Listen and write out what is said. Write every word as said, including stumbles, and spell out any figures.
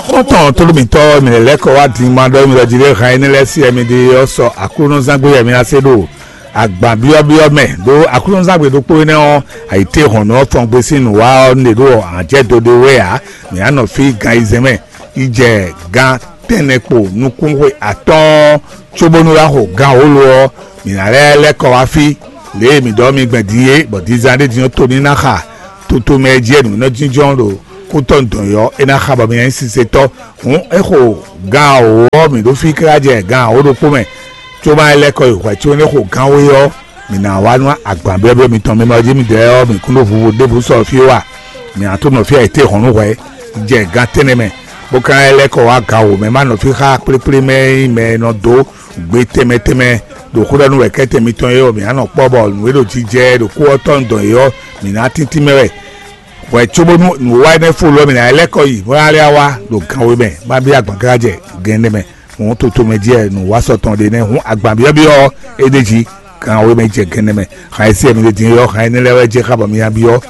Xɔ́ntɔn tlóló mǐtɔn, mǐ lɛ́ kɔ wá din ma ɖɔ mǐ ɖɔ jí ɖé han énɛ́ lɛ́ɛ sí wɛ mi ɖe ɔ́ sɔ Aklúnɔzángbe wɛ mi ná se ɖo agban byɔ́byɔ́ mɛ. Ɖó Aklúnɔzángbe ɖokpó énɛ́ ɔ́, ayǐtéhɔ̌nnu ɔ́ fɔn gbe sín nǔ wa ɔ́, nǔɖé ɖo anjɛ́ do ɖé wɛ ǎ. Mǐ ná nɔ fí gan ayizɛ́n mɛ yi jɛ gan tɛ́nnɛ kpo nukúnxwe atɔ́ɔ́n, cóbónú wá xo gan wǒ lo ɔ́, mǐ ná lɛ́ lɛ́ kɔ wá fí. Lě e mǐ ɖɔ mi gbɛn din é, bɔ dinzán ɖé din ɔ́ to ní ná xa toto mɛ e jí wɛ nǔ nɔ jínjɔ́n ɖo kútɔ́ dɔ̌n ɔ́, é ná xa bɔ mi ná nyí sisetɔ́. Hǔn é xo gan wǒ ɔ́, mǐ ɖo fí káká jɛ gan wǒ ɖokpó mɛ. Cóbá é lɛ́ kɔ yi hwɛ̌ có é xo gan wé ɔ́, mǐ ná wá nú agban byɔ́byɔ́ mitɔn. Mi ma jí mi dɛɛ ɔ́, mǐ kún ɖo vuvo ɖěbǔ sɔ fí ó a? Mǐ ná tó nɔ fí ayǐtéhɔ̌nnu hwɛ̌ jɛ gan tɛ́nnɛ mɛ, bó ka lɛ́ kɔ wá gan wǒ mɛ, má nɔ fí xá kplékplé mɛ e nyí mɛ e nɔ dó gbe tɛnmɛ tɛnmɛ ɖo xó ɖɔ nú wɛ̌kɛ́tɛn mitɔn é ɔ́, mǐ ná nɔ kpɔ́ bɔ nǔ e ɖo jijɛ ɖo kú ɔ́ tɔn dɔn é ɔ́, mǐ ná tíntín mɛ wɛ. Hwɛ cóbónú nǔwiwa énɛ́ fó lɔ mǐ ná lɛ́ kɔ yi bó ná lɛ́ wá ɖo gan we mɛ, má bí agban káká jɛ gan ɛnɛ mɛ. Hǔn toto mɛ jí wɛ nǔ wa sɔ tɔn ɖe nɛ́. Hǔn agban byɔ́byɔ́ ɔ́, é ɖ'é jí gan we mɛ jɛ gan ɛnɛ mɛ. Xan e sí ɛmɛ ɖe din é ɔ́, xan énɛ́ lɛ́ɛ wɛ jɛ xá bɔ mi ná byɔ́.